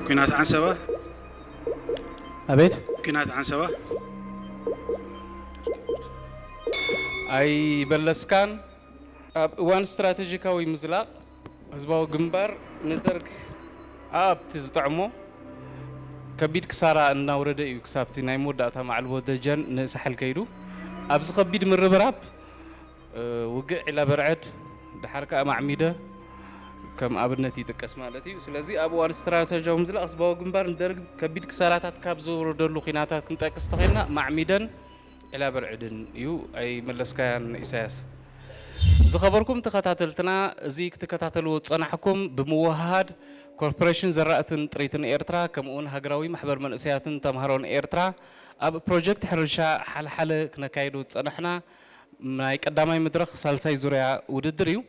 ኲናት ዓንሰባ ኣቤት ኲናት ዓንሰባ ኣይበለስካን። ኣብ እዋን ስትራቴጂካዊ ምዝላቕ ህዝባዊ ግንባር ንደርግ ኣብቲ ዝጠዕሞ ከቢድ ክሳራ እናውረደ እዩ ክሳብቲ ናይ መወዳእታ ማዕልቦ ደጀን ንሳሕል ከይዱ። ኣብዚ ከቢድ ምርብራብ ውግእ ዒላ በርዐድ ድሓር ከዓ ማዕሚደ ከም ኣብነት ይጥቀስ ማለት እዩ። ስለዚ ኣብ እዋን ስትራተጂያዊ ምዝላቕ ህዝባዊ ግንባር ንደርግ ከቢድ ክሳራታት ካብ ዘውረደሉ ኲናታት ክንጠቅስ ተኾይንና ማዕሚደን ዒላ በርዕድን እዩ። ኣይመለስካያን ኢሳያስ። ዝኸበርኩም ተኸታተልትና፣ እዚ ክትከታተልዎ ዝጸናሕኩም ብምውህሃድ ኮርፖሬሽን ዘራእትን ጥሪትን ኤርትራ ከምኡውን ሃገራዊ ማሕበር መንእሰያትን ተምሃሮን ኤርትራ ኣብ ፕሮጀክት ሕርሻ ሓልሓለ ክነካይዶ ዝጸናሕና ናይ ቀዳማይ መድረኽ ሳልሳይ ዙርያ ውድድር እዩ።